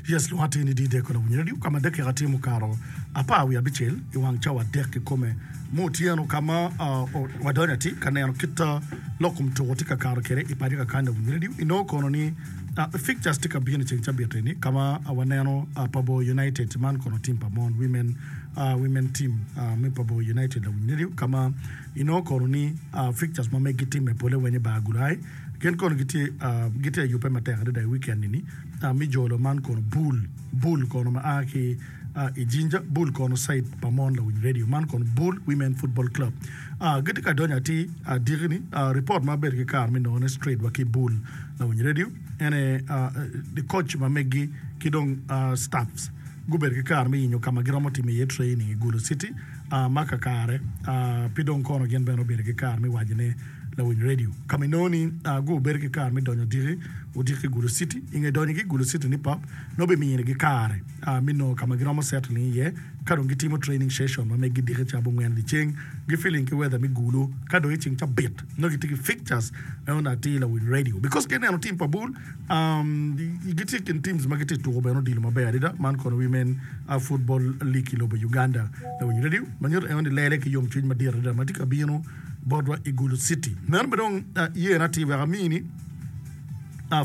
Yes, lwonga atir ni Didek Olawiny Radio ka ma dakika tye mukato 17 i wang cawa adek kikome me otyeno ka ma wadonyo atir ka neno kit lok kom tuko tye ka kato kwede i paco kakany Lawiny Radio. Inongo kono ni fixtures tye ka bino i ceng cabit eni ka ma waneno Pabor United man kono team pa mon women women team me Pabor United Lawiny Radio ka ma inongo kono ni fixtures ma megi timme pole weng i bar Gulai gin kono gitye gitye ayubbe matek adada i weekend eni. Me jolo man kono bul, bul kono ma a ki i Jinja, bul kono side pa mon lawiny radio man kono bul Women Football Club. Gitye ka donyo atir diki ni report ma abedo ki kare me nongone straight wa ki bul lawiny radio en aye the coach ma megi ki dong staffs gubedo ki kare me yenyo ka ma giromo timo iye training i Gulu City ma kakare pi dong kono gin bene obedo ki kare me wacone lawiny radio ka ma inongo ni gubedo ki kare me donyo odiki odiki i Gulu City. I nge donyogi i Gulu City ni pop, nongo bimiyinigi kare me nongo ka ma giromo settling iye ka dong gitimo training session ma meggi diki ca abongwen dyeceng, gi feeling ki weather me Gulu ka dong i ceng cabit nongo gitye ki fixtures me onongo atir lawiny radio because ka ineno team pa bul gitye i kin teams ma gitye tuko bene odilo maber adada man kono women football league i lobo Uganda lawiny radio ma nyuto eno ni lele ki yomcwiny madit adada ma tye ka bino botwa i Gulu City. Meno bene dong yena atir wek amini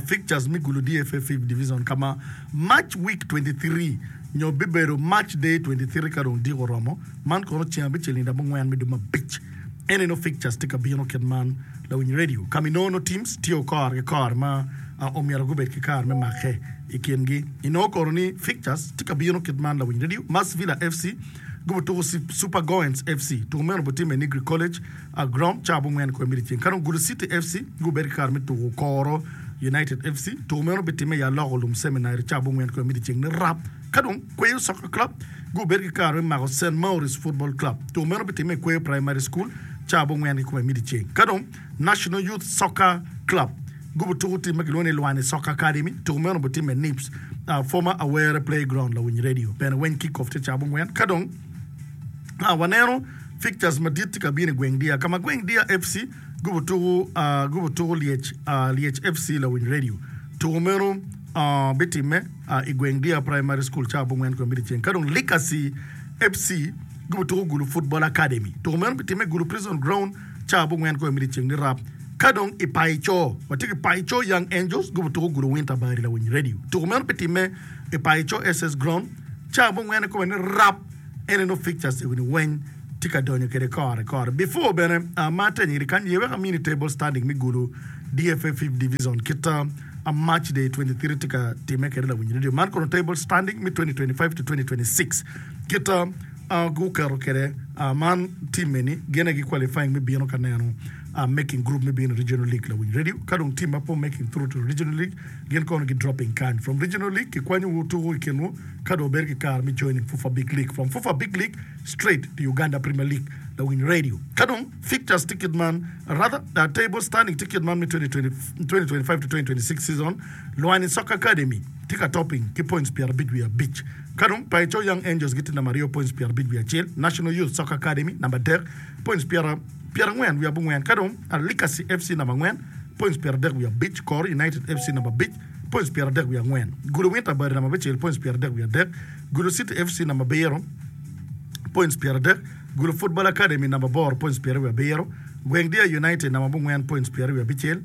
fixtures me Gulu DFA Fifth Division ka ma March week 23 nyo bibedo March day 23 ka dong diko oromo. Man kono ceng abicel nino abongwen me dwe me abic. En eno fixtures tye ka bino kit man lawiny radio ka ma inongo nongo teams tye kore ki kore ma omyero gubed ki kare me make i kingi. Inongo kono ni fixtures tye ka bino kit man lawiny radio Mass Villa FC Gubutuko Super Goens FC, tuko meno obitimme i Nigri College Ground cawa abongwen kome me dyeceng. Ka dong Gulu City FC gubedo ki kare me tuko Koro United FC, tuko meno obitimme i Aloko Lum Seminary cawa abongwen kome me dyeceng nirap. Ka dong Kweyo Soccer Club gubedo ki kare me mako Saint Maurice Football Club, tuko meno obitimme i Kweyo Primary School cawa abongwen kikome me dyeceng. Ka dong National Youth Soccer Club gubutuko tim ma kilwongo ni Lwani Soccer Academy. Tuko meno obitimme i Nips, former Awere Playground, Lawiny Radio bene weng kick off tye ca abongwen. Ka dong waneno fixtures madit tye ka bino i gweng Dia ka ma gweng Dia FC gubutuko gubutuko Lyec Lyec FC Lawiny Radio. Tuko meno bitimme i gweng Dia Primary School ca abongwen kome me dyeceng. Ka dong Legacy FC gubutuko Gulu Football Academy. Tuko meno bitimme i Gulu Prison Ground Ca abongwen kome me dyeceng ni rap. Ka dong i Paico, watye ki Paico Young Angels gubutuko Gulu Winter Bari Lawiny Radio. Tuko meno bitimme i Paico SS Ground ca abongwen kome ni rap. Ene nongo fixtures ego ni weng tye ka donyo kwede kore kore. Before bene ma atenyo iri kany, ye wek amini table standing me Gulu DFA Fifth Division kit a March day 23 tye ka timme kwede Lawiny Radio. Man kono table standing me 2025 to 2026 kit guketo kwede man team eni gin aye gi qualifying me bino ka neno making group me bino i regional league lawiny radio ka dong team ma pe making through to regional league gin kono gi dropping kany from regional league ki kwanyo wu tuko i kin wu ka dong wubedo ki kare me joining fufa big league from fufa big league straight to Uganda premier league lawiny radio ka dong fixtures tye kit man rather table standing tye kit man me 2025 to 2026 season Lwani Soccer Academy tye ka topping ki points 55. Ka dong Paicho Young Angels gitye namba aryo points 51, National Youth Soccer Academy namba adek points 49, ka dong Alikasi FC namba angwen points 35, Koro United FC namba abic points 34, Gulu Winter Bari namba abicel points 33, Gulu City FC namba abiro points 30, Gulu Football Academy namba aboro points 27, Gweng Deer United namba abongwen points 26,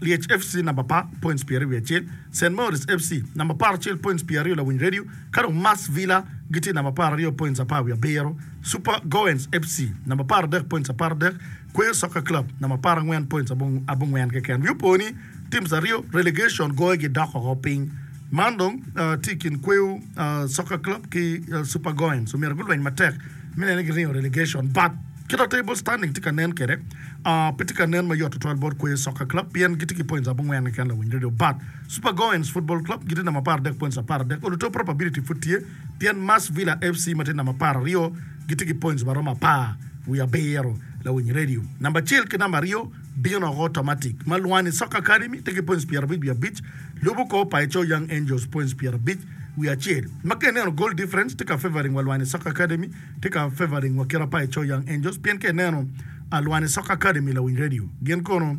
Lyec FC namba apar points 21. Saint Maurice FC namba 11 points 20 Lawiny Radio ka dong Mass Villa gitye namba 12 points 17, Super Goens FC namba 13 points 13, Kweyo Soccer Club namba 14 points 40 keken. Wi opo ni teams aryo relegation goyogi dok oko piny. Man dong tye i kin Kweyo Soccer Club ki Super Goens omyero gulweny matek me neno ni giringo relegation but Kit ma table standing tye ka nen kwede, pe tye ka nen mayot tutwal bot Kweyo Soccer Club pien gitye ki points abongwen keken lawiny radio but Super Goens Football Club gitye namba 13 points 13 oluto probability pud tye pien Mass Villa FC ma tye namba 12 gitye ki points maromo apar wiye abiro lawiny radio. Namba acel ki namba aryo bino oko automatic ma Lwani Soccer Academy tye ki points 55 lubo kor Paicho Young Angels points 50 wiye acel ma ka ineno goal difference tye ka favoring wa Lwani Soccer Academy tye ka favoring wa kit pa Eco Young Angels pien ka ineno Alwani Soccer Academy lawiny radio gin kono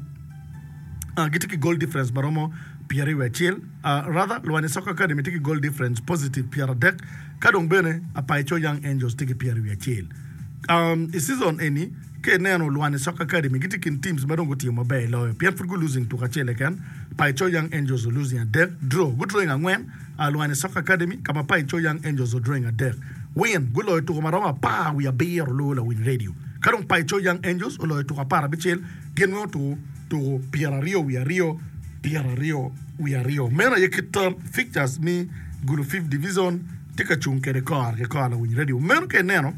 gitye ki goal difference ma romo. 21, rather Lwani Soccer Academy tye ki goal difference positive 30 ka dong bene Apaico Young Angels tye ki 21. I season eni ka ineno Lwani Soccer Academy gitye i kin teams ma dong gutimo maber loyo pien pud gu losing tuko acel keken, Apaico Young Angels o losing adek, draw, gu drawing angwen, Lwani Soccer Academy ka ma Apaico Young Angels o drawing adek, win, guloyo tuko maromo apar wiye abiro luwo lawiny radio ka dong Apaico Young Angels oloyo tuko aparabicel gin weng otuko tuko 22 22. Meno aye kit fixtures me Gulu Fifth Division tye ka cung kwede kore ki kore lawiny radio. Meno ka ineno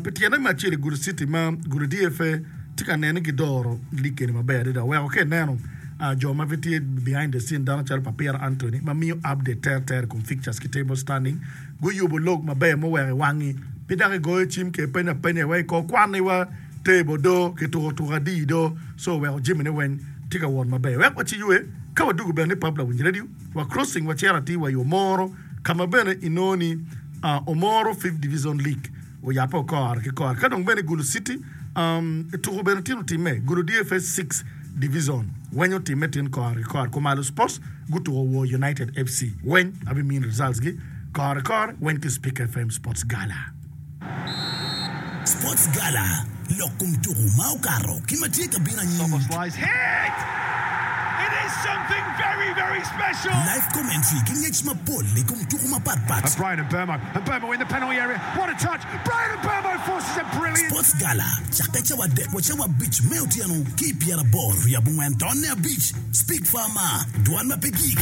pi tyene me acel i Gulu City ma Gulu DFA tye ka nene ni gidoro lig eni maber adada weko ka ineno jo ma gitye behind the scene dano calo Papira Anthony ma miyo update terter i kom fixtures ki table standing guyubo log maber muweko i wangi pe dok igoyo cim ke ipenyo apenya wa i kor kwan-ni wa table do kituko tuko adi do so oweko jamine weng tye ka wot maber. Wek waciywe ka wadwogo bene ni pub lawiny radio wa crossing wacito atir wa i Omoro ka ma bene inongo ni Omoro Fifth Division League oyabbe kore ki kore ka dong bene i Gulu City tuko bene tin otimme Gulu DFS Sixth Division weny otimme tin kore ki kore Kumalo Sports gutuko War United FC weny abimini results gi kore ki kore weny ki Speak FM Sports Gala. Sports Gala, Lok kom tuku ma okato ki ma tye ka bino anyim. Live commentary ki ngec mapol i kom tuku mapat pat. Sports Gala, Cakke cawa adek wa cawa abic me otyeno ki i pyeraboro wiye abongwen tonne abic. Speak Farmer, Dwan ma pe gik.